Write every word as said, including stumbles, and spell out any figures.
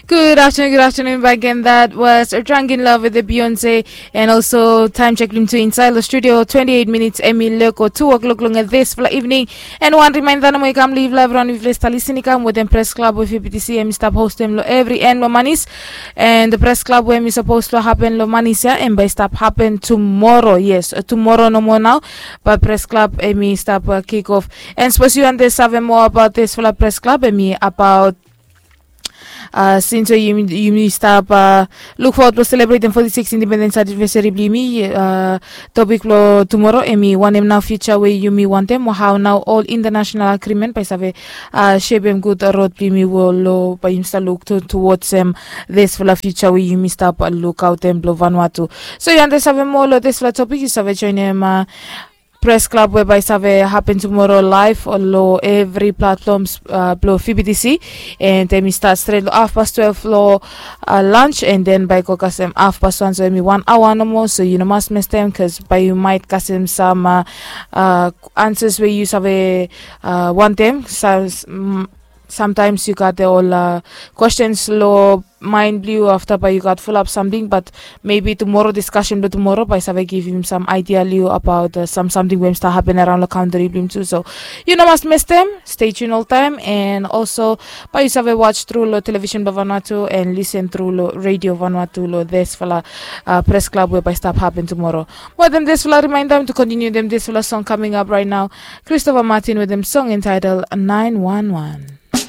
Good afternoon, good afternoon back again. That was Drunk in Love with the Beyonce. And also, time check blong yumi tu inside the studio, twenty-eight minutes, emi leko two o'clock long this fla evening. And one reminder, nomo i kam live live around with Lesta listening kam with the press club with F B T C, emi stop host them lo every end lo Manis. And the press club where emi supposed to happen lo Manis, yeah, and by stop happen tomorrow. Yes, uh, tomorrow nomo now. But press club emi stop uh, kick off. And suppose you understand more about this fla press club, emi about Uh, since we yumi, yumi stap uh, look forward blong celebrating forty-six independence anniversary blong yumi, uh, topic blong tomorrow emi wanem nao future we yumi wantem, o hao nao ol international agreement bae i save uh, shepem gud road blong yumi we ol lo bae yumi stap look to, towards em, disfala future we yumi stap uh, look autem blong Vanuatu. So yu ante save moa lo disfala topic, yu save joinem uh, press club we bae i save hapen tumoro laef lo evri platforms uh, blong F B T C. And emi stat stret lo hafpas twelve lo uh, lunch, and then bae i go kasem hafpas wan, so emi wan aoa nomo. So yu no mas mestem, bikos bae yu maet kasem sam uh, uh, ansas we yu save uh, wantem. Samtaems yu gat ol uh, kwestens lo maen blong yu, afta bae yu gat fulap samting, bat mebi tumoro diskasen blong tumoro bae i save givim sam aedia long yu abaot uh, sam samting we i stap hapen araon long kantri blong yumi tu. So yu no mas mestem, stay tuned oltaem. And also bae yu save watch tru long televisen blong Vanuatu and lisen tru long redio Vanuatu long disfala uh, pres klab we bae i stap hapen tumoro. Wetem disfala rimaenda mi tu kontiniu wetem disfala song coming up right now. Christopher Martin wetem song entitled nine one one.